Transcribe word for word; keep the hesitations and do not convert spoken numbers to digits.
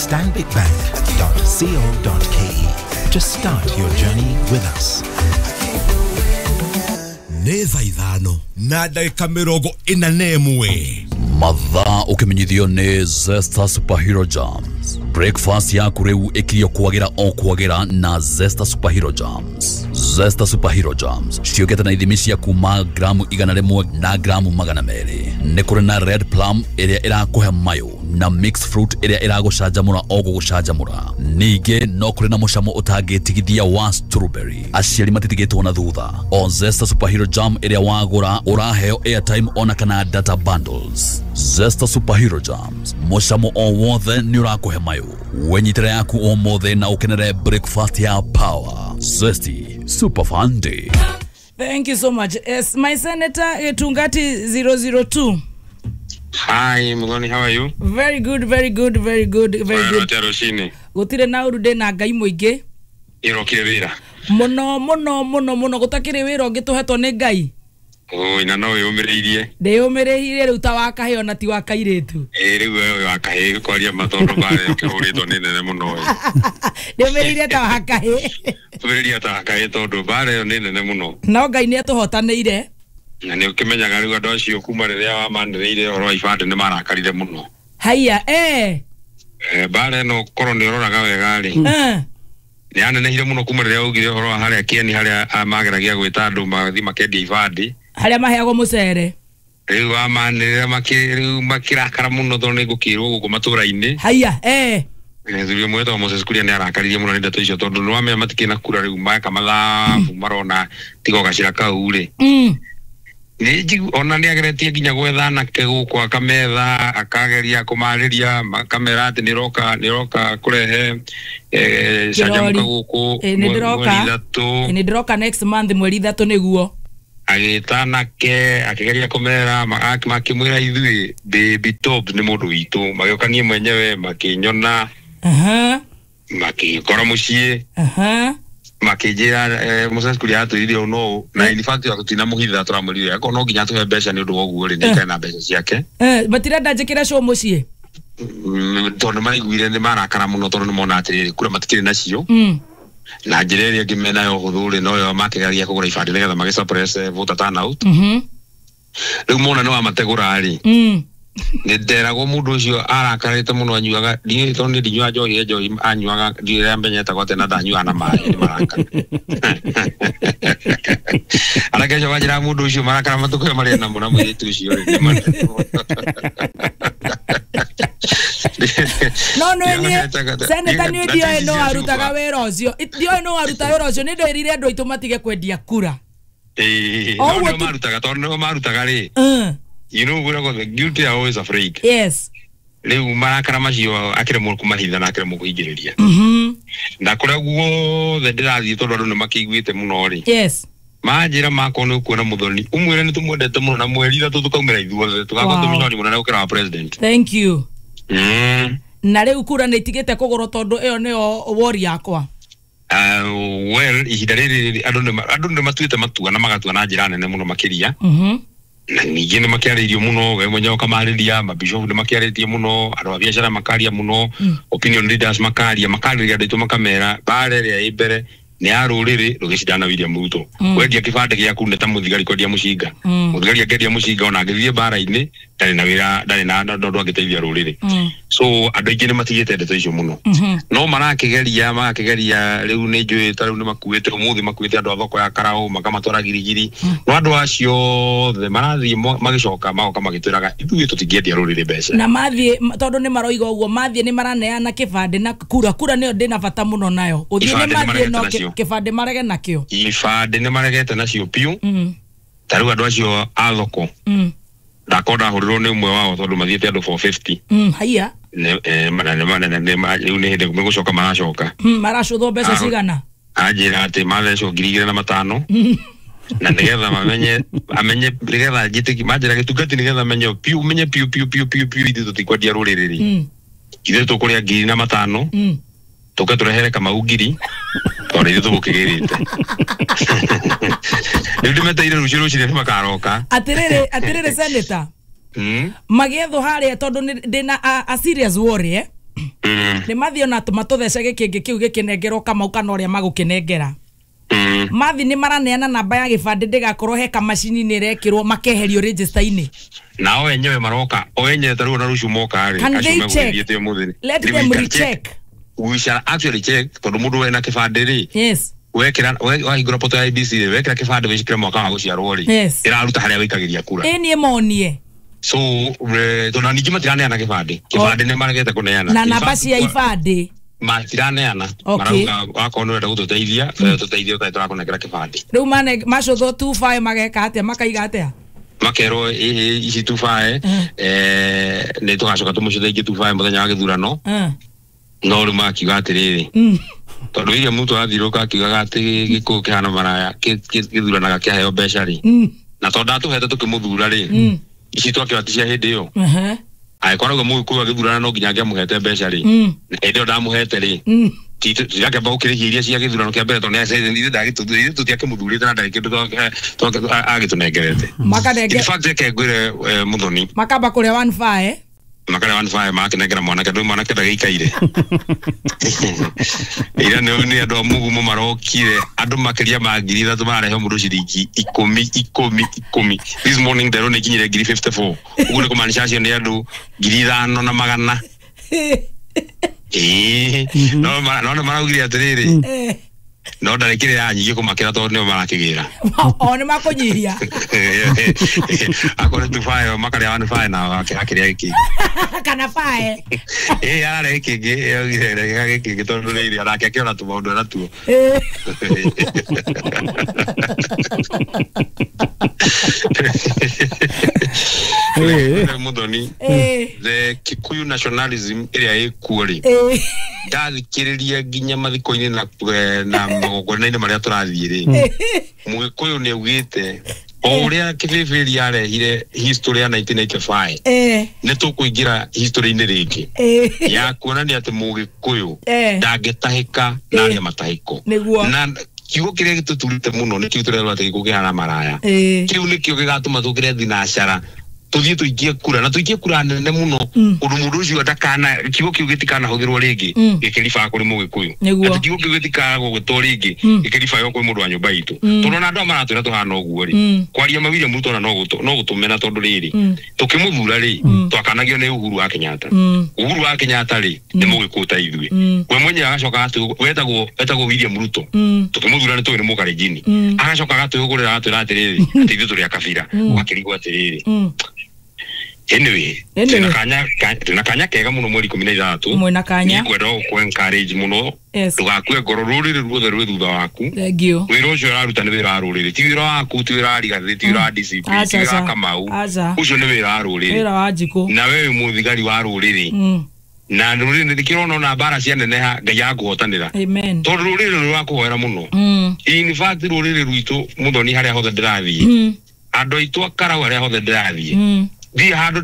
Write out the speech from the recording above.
stanbic bank dot co dot k e to start your journey with us. Nĩ thaa ithano na ndagĩka mĩrongo ĩna na ĩmwe. Mathaa ũkĩmenyithio nĩ Zesta Superhero Jams. Breakfast yaku rĩu ĩkirio kwagĩra o kwagĩra na Zesta Superhero Jams. Zesta Superhero Jams ciũkĩte na ithimi cia kuma gramu igana rĩmwe na gramu magana merĩ. Nĩ kũrĩ na red plum ĩrĩa ĩrakũhe mayũ na mixed fruit ĩrĩa ĩragũcanjamũra o gũgũcanjamũra. Ningĩ no kũrĩ na mũcamo ũtangĩtigithia wa strawberry. Aciari matitigĩtwo na thutha. O Zesta Superhero Jam ĩrĩa wagũra ũraheo airtime ona kana data bundles. Zesta Superhero Jams, mũcamo o wothe nĩ ũrakũhe mayũ. Wenyitĩra yaku ũmũthĩ na ũkenere breakfast ya power. Zesty Super Fun Day. Thank you so much. Yes, my senator Gitungati zero zero two. Hi, Muthoni, how are you? Very good, very good, very good, very good. Gutire na uru ndina ngai muingi. Irokire wira. Muno muno muno muno gutakiri wira ungi tuhetwo ni ngai. Oi, na no yumiriirie. Ndiyumiriirie riu ta wa kahĩ ona ti wa kairitu. Ĩ riu we wa kahĩ kwaria matondo bare ũkĩhũrĩtwo nĩ nene mũno. Ndiyumiriirie ta wa kahĩ. Tumiririe ta wa kahĩ tondũ bare ĩyo nĩ nene mũno. No Ngai nĩ atũhotanĩire. Na nĩ ũkĩmenyaga rĩu andũ acio kuma rĩrĩa wamanĩrĩire ũhoro wa ibandĩ nĩ marakarire mũno. Haiya, eh. Eh, bare ĩno korwo nĩ ũroraga wega rĩ. Eh. Nĩ yanenehire mũno kuma rĩrĩa augire ũhoro wa harĩa Kĩeni harĩa mageragia gwĩta andũ magathiĩ makendia ibandĩ. Harĩa maheagwo mũcere. Rĩu wamanĩrĩra makĩ rĩu makĩrakara mũno tondũ nĩ ngũkĩrwo gũkũ matũra-inĩ. Haiya, eh. Mũthuri ũmwe wetagwo Moses Kuria nĩ arakaririe mũno nĩ ndeto icio tondũ nĩ wamenya matikĩrĩ na kura rĩu meka mathabu marona tiga o gacĩra kau rĩ. Mm. Nĩ ona nĩ ageretie nginya gwetha anake gũkũ akametha akageria kũmarĩria makamera atĩ nĩ roka nĩ roka kũrehe eh canjamũka gũkũ nĩ ndĩroka nĩ ndĩroka next month mweri ithatũ nĩguo. Agĩta anake akĩgeria kũmera makĩmwĩra ithuĩ Baby Top nĩ mũndũ witũ magĩũka niĩ mwenyewe makĩnyona makĩkora mũciĩ makĩnjĩra Moses Kuria atwĩrire ũũ no na in fact tũtinamũhitha tũramwĩrire akorwo no nginya atũhe mbeca nĩ ũndũ wa ũguo rĩ nĩ aikare na mbeca ciake. Eh, matirenda njĩkĩre show mũciĩ tondũ maiguire nĩ marakara mũno tondũ nĩ mona atĩrĩrĩ kura matikĩrĩ nacio na njĩra ĩrĩa ĩngĩ menayo hũthũ rĩ noyo makĩgeria kũgũra ibandĩ nĩgetha magĩ suppress voter turnout. Rĩu mona nĩ wamategũra rĩ nĩ nderagwo mũndũ ũcio arakarĩte mũno anyuaga ndiũĩ tondũ niĩ ndinyuaga njohi njohi anyuaga ndiũĩ ũrĩa menyetagwo atĩa na ndanyuaga na maĩ nĩ marakara. Anake acio manjĩraga mũndũ ũcio marakara matukũ ĩyo marĩ namo na mũirĩtu ũcio rĩ No no niĩ senator niĩ ndiũĩ no arutaga wĩra ũcio ndiũĩ no aruta wĩra ũcio nĩ ndĩrire andũ aitũ matige kwendia kura. Ĩĩ no nĩo marutaga tondũ nĩo marutaga rĩ. You know, we're the guilty are always afraid. Yes. Rĩu marakara macio akĩremwo kũmahitha na akĩremwo kũhingĩrĩria. Mhm. Na kũrĩa guothe ndĩrathiĩ tondũ andũ nĩ makĩiguĩte mũno rĩ. Yes. Manjĩra makwa nĩ ũkuona Muthoni ũmwĩre nĩ tũmwendete mũno na mweri ithatũ tũkaumĩra ithuothe tũgakorwo tũmĩcemania mũnene gũkĩra wa president. Thank you. Mm. Na rĩu kura nĩ itigĩte kũgũrwo tondũ ĩyo nĩyo wori yakwa. Uh, well, ihinda rĩrĩ andũ nĩ andũ nĩ matuĩte matua na magatua na njĩra nene mũno makĩria. Mhm. Na ningĩ nĩ makĩarĩirio mũno we mwenyewe ũkamarĩria mabishofu nĩ makĩarĩtie mũno andũ a biacara makaria mũno opinion leaders makaria makarĩria andũ aitũ makamera mbara ĩrĩa ĩ mbere nĩ ya rũrĩrĩ rũgĩcindana William Ruto. Wendia kĩbandĩ gĩaku nĩ ta mũthigari kwendia mũcinga. Mũthigari angĩendia mũcinga ona angĩthiĩ mbara-inĩ ndarĩ na wĩra ndarĩ na ũndũ angĩteithia rũrĩrĩ. So andũ aingĩ nĩ matigĩte ndeto icio mũno no marakĩgeria marakĩgeria rĩu nĩ njũĩ ta rĩu nĩ makuĩte ũmũthĩ makuĩte andũ a thoko ya Karaũ makamatwara Girigiri no andũ acio othe marathiĩ magĩcoka magoka magĩtwĩraga ithuĩ tũtingĩendia rũrĩrĩ mbeca na mathiĩ tondũ nĩ maroiga ũguo mathiĩ nĩ maraneana kĩbandĩ na kura kura nĩyo ndĩna bata mũno nayo ũthiĩ nĩ mathiĩ no kĩbandĩ marege nakĩo ibandĩ nĩ maregete nacio piũ ta rĩu andũ acio a thoko ndakorwo ndahũrirwo nĩ ũmwe wao tondũ mathiĩte andũ four fifty. Haiya rĩu nĩ hĩndĩ megũcoka maracoka maracũthwo mbeca cigana anjĩra atĩ mathecwo ngiri igĩrĩ na matano na nĩgetha mamenye amenye nĩgetha njĩtĩki manjĩra gĩtungati nĩgetha amenye piũ menye piũ piũ piũ piũ piũ ithuĩ tũtikwendia rũrĩrĩ rĩ ithuĩ tũkũrĩa ngiri na matano tũke tũrehere Kamau ngiri tondũ ithuĩ tũgũkĩgĩrĩte rĩu ndĩmeteire rũciũ rũcinĩ nĩ makaroka. Atĩrĩrĩ atĩrĩrĩ senator magĩethwo harĩa tondũ ndĩna a serious worry eh Nĩ mathiĩ ona matũthece gĩkĩngĩ kĩu gĩkĩnengerwo Kamau kana ũrĩa magũkĩnengera. Mathi nĩ maraneana namba ya gĩbandĩ ndĩgakorwo he kamacini-inĩ ĩrekĩrwo makeherio register-inĩ. Nao enyewe maroka o enyewe ta rĩu ona rũciũ moka rĩ, acio megũgĩthiĩte ũmũthĩ. Let them recheck. We shall actually check tondũ mũndũ wena kĩbandĩ rĩ. Yes. Wekĩra wahingũra portal ya I B C rĩ, wekĩra kĩbandĩ wĩcikĩre mwaka wa gũciarwo rĩ, ĩraruta harĩa wĩikagĩria kura. Ĩ niĩ monie. So tondũ ningĩ matiraneana kĩbandĩ. Kĩbandĩ nĩ maregete kũneana. Na namba cia ibandĩ. Matiraneana. Marauga wakorwo nĩ ũrenda gũtũteithia, tũteithie ũtarĩ tũrakũnengera kĩbandĩ. Rĩu mane macũthwo two five mageka atĩa, makaiga atĩa? Makerwo ici two five eh nĩ tũgacoka tũmũcũthe ingĩ two five mũthenya wa gĩthurano. No rĩu makiuga atĩrĩrĩ, tondũ William Ruto athirũka akiugaga atĩ gĩkũyũ kĩhana maraya gĩthuranaga kĩaheo mbeca rĩ, na tondũ ndatũhete tũkĩmũthura rĩ, ici twakĩra ti cia hĩndĩ ĩyo. Angĩkorwo auga mũgĩkũyũ agĩthurana no nginya angĩamũhete mbeca rĩ, hĩndĩ ĩyo ndamũhete rĩ, tirakĩamba gũkĩrĩhia iria cia gĩthurano kĩa mbere tondũ ithuĩ tũtiakĩmũthurĩte na ndarĩ kĩndũ agĩtũnengerete. In fact reke ngwĩre Muthoni, makamba kũrĩa one five makarĩa one five makinengera mwanake ndũ mwanake ndagĩikaire. Ira nĩ andũ a mũgumo marokire andũ makĩria ma ngiri ithatũ mararehe mũndũ ciringi ikũmi ikũmi ikũmi. This morning nderwo nĩ ikinyire ngiri fifty four. Ũguo nĩ kũmaanisha acio nĩ andũ ngiri ithano na magana. Ĩĩ no no maraugire atĩrĩrĩ, no ndarĩkĩrĩ yanyihie kũmakĩra tondũ nĩo marakĩgĩra. O nĩ makũnyihia. Akorwo two five makarĩa one five na akĩrĩa gĩkĩngĩ. Kana five. Ĩĩ ararĩa gĩkĩngĩ, augire rega gĩkĩngĩ tondũ rĩrĩ onake akĩona tũmaũndũ natuo. Muthoni, the Kikuyu nationalism ĩrĩa ĩkuo rĩ, ndathikĩrĩria nginya mathiko-inĩ na na magongona-inĩ marĩa tũrathiĩ rĩ, Mũgĩkũyũ nĩ augĩte o ũrĩa Kĩbĩbĩri arehire history ya nineteen eighty five nĩ tũkũingĩra history-inĩ rĩngĩ ya kuonania atĩ Mũgĩkũyũ ndangĩtahĩka na arĩa matahĩko. Na kiugo kĩrĩa gĩtũturĩte mũno nĩ kĩu tũrerwo atĩ gĩkũyũ kĩhana maraya. Kĩu nĩkĩo gĩgatũma tũkĩre thinacara tũthiĩ tũikie kura na tũikie kura nene mũno ũndũ mũndũ ũcio ndakana kiugo kĩu gĩtikanahũthĩrwo rĩngĩ gĩkĩribaa kũrĩ Mũgĩkũyũ. Atĩ kiugo kĩu gĩtikagwo gwĩtwo rĩngĩ gĩkĩribaa kũrĩ mũndũ wa nyũmba itũ. Tondũ ona andũ aya maratwĩra tũhana ũguo rĩ, kwaria ma William Ruto ona no gũtũmena tondũ rĩrĩ tũkĩmũthura rĩ twakanagio nĩ Uhuru wa Kenyatta. Uhuru wa Kenyatta rĩ nĩ Mũgĩkũyũ ta ithuĩ. We mwenyewe agacoka wetagwo wetagwo William Ruto tũkĩmũthura nĩ tũĩ nĩ Mũkalenjini. Agacoka agatwĩhũgũrĩra agatwĩra atĩrĩrĩ atĩ ithuĩ tũrĩ a kabira. Ũgakĩrigwo atĩrĩrĩ. Anyway, twina kanya twina kanya kega muno mweri ikũmi na ithathatũ. Mwina kanya. Nĩngwenda gũkũ encourage mũno. Ndũgakue ngoro, rũrĩrĩ ruothe rwĩ thutha waku. Thank you. Wĩra ũcio ũraruta nĩ wĩra wa rũrĩrĩ, ti wĩra waku, ti wĩra wa Rigathĩ, ti wĩra wa D C P, ti wĩra wa Kamau. Ũcio nĩ wĩra wa rũrĩrĩ. Wĩra wa Njikũ. Na we wĩ mũthigari wa rũrĩrĩ. Na rũrĩrĩ nĩkĩrona ona mbara cianeneha Ngai akũhotanĩra. Amen. Tondũ rũrĩrĩ nĩ rwakũhoera mũno. In fact rũrĩrĩ rwitũ Muthoni harĩa hothe ndĩrathiĩ. Andũ aitũ a Karau harĩa hothe ndĩrathiĩ. Thiĩ handũ